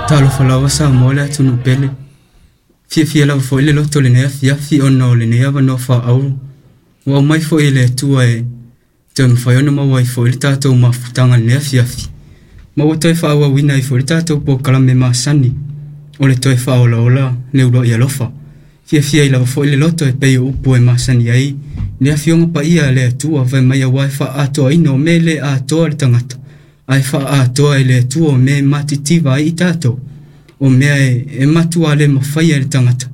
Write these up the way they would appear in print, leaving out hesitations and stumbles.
Talofa lava Samoa le atunuu pele. Fiafia lava foi le loto i lenei afiafi ona o lenei avanoa faaauro ua aumai foi e le Atua e toe mafai ona maua ai foi le tatou mafutaga i lenei afiafi, ma ua toe faaauauina ai foi le tatou polokalame masani o le toe faaolaola le uluai alofa. Fiafia ai lava foi le loto e pei o upu e masani ai le Afioga Paia a le Atua fai mai aua e faaatoaina o mea e le atoa le tagata, ae faaatoa e le Atua o mea e matitiva ai i tatou, o mea e matua le mafaia e le tagata,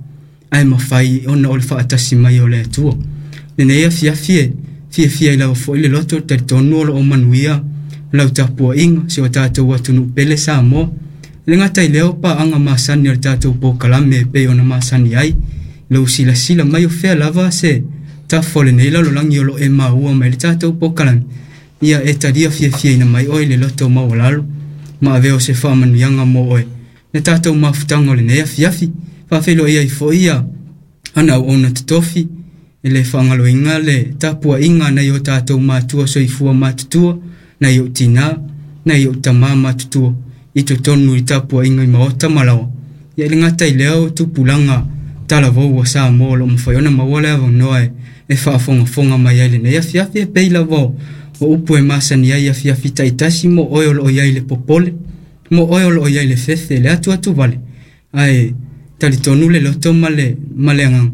ae mafai ona o le faatasi mai o le Atua. Lenei afiafi e fiafia ai lava foi le loto, e talitonu o lo o manuia lau tapuaiga, si o tatou atunuu pele Samoa. E le gata i lea o paaga masani o le tatou polokalame e pei ona masani ai, lou silasila mai o fea lava se tafa o lenei lalolagi o lo o e maua mai le tatou polokalame, ia e talia fiafiaina mai oe i le loto maualalo ma avea o se faamanuiaga mo oe le tatou mafutaga o lenei afiafi. Faafeiloai ai foi ia ana auauna totofi, e le faagaloina le tapuaiga a nai o tatou matua soifua matutua, nai ou tinā, nai ou tamā matutua i totonu i tapuaiga i maota ma laoa. Ia e le gata i lea o tupulaga talavou a Samoa o lo o mafai ona maua le avanoa e faafogafoga mai ai i lenei afiafi, e pei lava o upu e masani ai i afiafi taitasi mo oe o lo o i ai le popole, mo oe o lo o i ai le fefe, le atuatuvale, ae talitonu le loto ma le agaga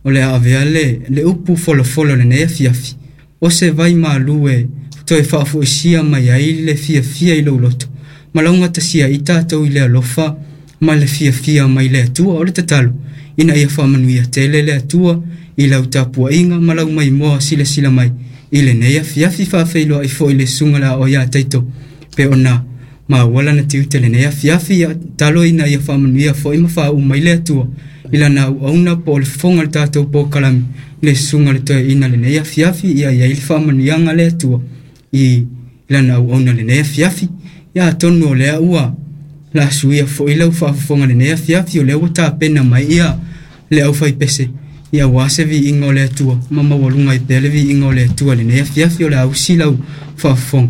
o le a avea le upu folafola o lenei afiafi, o se vai malu e toe faafoisia mai ai le fiafia i lou loto, ma laugatasia ai tatou i le alofa ma le fiafia mai le Atua. O le tatalo ina ia faamanuia tele le Atua i lau tapuaiga ma lau maimoa silasila mai i lenei afiafi. Faafeiloai foi le susuga le Aoao ia Taito pe ona maua lana tiute lenei afiafi, ia talo ina ia faamanuia foi ma faauu mai le Atua i lana auauna po o le fofoga o le tatou polokalame le susuga le toeaina lenei afiafi, ia i ai le faamanuiaga a le Atua i lana auauna lenei afiafi. Ia atonu o lea ua la suia foi lau faafofoga lenei afiafi, o lea ua tapena mai ia le aufaipese ia aua se viiga o le Atua ma maualuga ai pea le viiga o le Atua lenei afiafi. O le a usi lau faafofoga.